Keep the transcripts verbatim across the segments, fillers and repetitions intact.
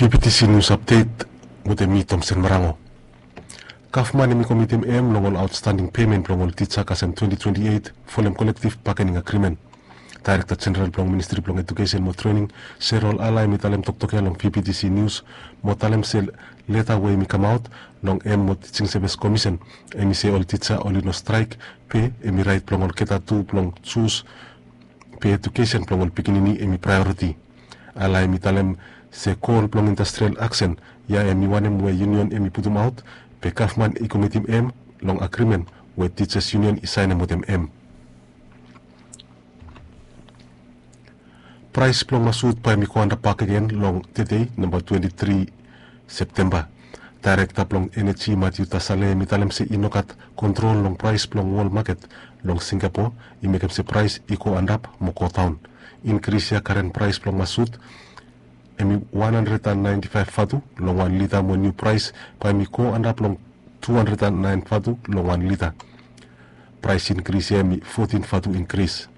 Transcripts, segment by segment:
P P T C News Update wetem mi, Tomsen Marango. Gavman hemi komitim hem long ol aotstanding pemen blong ol tija kasem twenti twenti eit folem kolektiv bagening agrimen. Daerekta Jeneral blong Ministri blong Ejukesen mo Trening, Serol Ala, hemi talem toktok ya long P P T C News mo talem se leta we hemi kamaot long hem mo Tijing Sevis Komisen, hemi se ol tija oli no straek, be hemi raet blong olgeta tu blong jus be ejukesen blong ol pikinini hemi praeoriti. Ala hemi talem se gol blong Industrial Aksen ya hemi wanem we yunion hemi putumaot, be gavman i komitim hem long agrimen we Tijas Yunion i saenem wetem hem. Praes blong masut bae hemi go antap bakegen long tede, namba twenti tri Septemba. Daerekta blong Eneji, Matiu Tasale, hemi talem se i no gat kontrol long praes blong wol maket long Singapo i mekem se praes i go antap mo go daon. Inkris ya, karen praes blong masut hemi wan handred an naenti faef vatu long wan lita, mo niu praes bae hemi go antap long tu handred an naen vatu long wan lita. Praes inkris ya hemi fotin vatu inkris.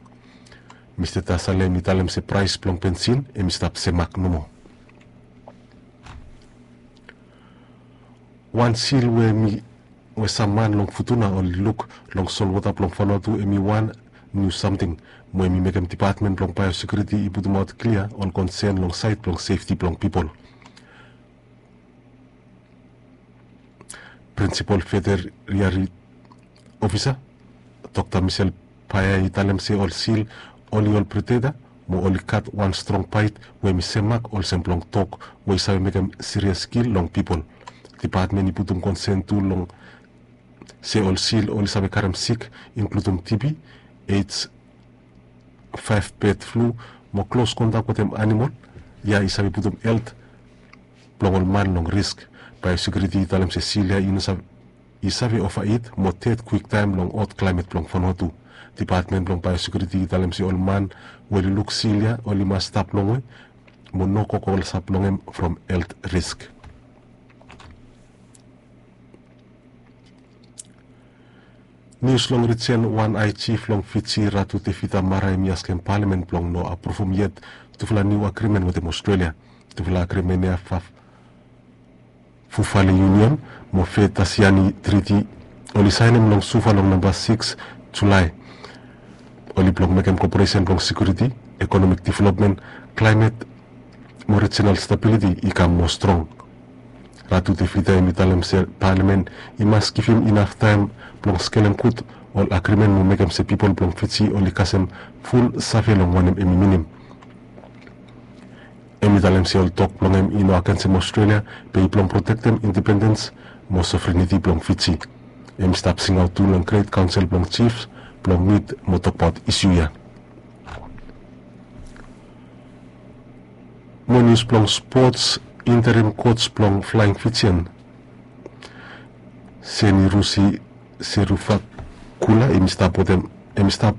Mista Tasale hemi talem se praes blong bensin hemi stap semak nomo. Wan sil we hemi, we sam man long Futuna oli luk long solwota blong Vanuatu hemi wan niu samting, mo hemi mekem Dipatmen blong Baeosekiuriti i putumaot klia ol konsen long saed blong sefti blong pipol. Prinsipol Veteriari Ofisa, Dokta Michelle Paea, i talem se ol sil oli ol predeta mo oli gat wan strong baet we hemi semak olsem blong dog we i save mekem sirias kil long pipol. Dipatmen i putum konsen tu long se ol sil oli save karem sik, inkludum T B, AIDS, faef bed flu, mo klos kontak wetem anamol ya i save putum helt blong ol man long risk. Baeosekiuriti i talem se sil ya i no save, i save ovaet mo ded kwiktaem long hot klaemet blong Vanuatu. Dipatmen blong Baeosekiuriti i talem se ol man we oli luk sil ya oli mas stap longwe mo no go klosap long hem from helt risk. Nius long rijen, wan ae jif long Fiji, Ratu Tevita Mara, hemi askem palamen blong no apruvum yet tufala niu agrimen wetem Ostrelia. Tufala agrimen ya, Fufale Union mo Fetasiani Triti, oli saenem long Suva long namba sikis Julae. Oli blong mekem koperesen blong sekiuriti, ekonomik developmen, klaemet mo rijinal stabiliti i kam moa strong. Ratu Tevita hemi talem se palamen i mas givim inaf taem blong skelem gud ol agrimen mo mekem se pipol blong Fiji oli kasem ful save long wanem hemi minim. Hemi talem se ol tok blong hem i no agensem Ostrelia, be i blong protektem independens mo sovereniti blong Fiji. Hemi stap singaot tu long Gret Kaonsel blong Jifs blong mit mo tokbaot isu ya. Mo nius blong spots, interim coach blong Flying Fijian, Senirusi Seruvakula, hemi stap wetem, hemi stap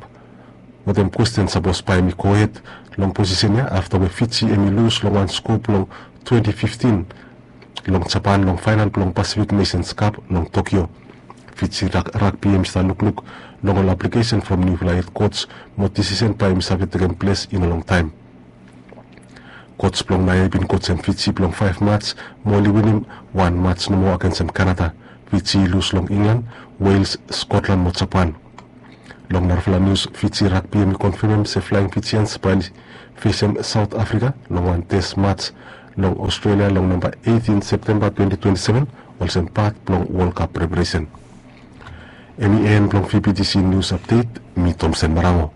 wetem kwesten sapos bae hemi gohed long posisen ya afta we Fiji hemi lus long wan sko blong twenti fiftin long Japan long faenal blong Pacific Nations Cup long Tokyo. Fiji rag-, ragbi hemi stap lukluk long ol aplikesen from niufala hed coach mo disisen bae hemi save tekem ples in a long taem. Coach blong naoia i bin coachem Fiji blong faef mats mo oli winim wan mats nomo agensem Kanada. Fiji i lus long Inglan, Wales, Skotlan mo Japan. Long narafala nius, Fiji ragbi hemi konfemem se Flying Fijians bae oli fesem Saot Afrika long wan tes mats long Ostrelia long namba eitin Septemba twenti twenti seven olsem pat blong Wol Kap preparesen. Hemi en blong V P T C Nius Apdet, mi Tomsen Marango.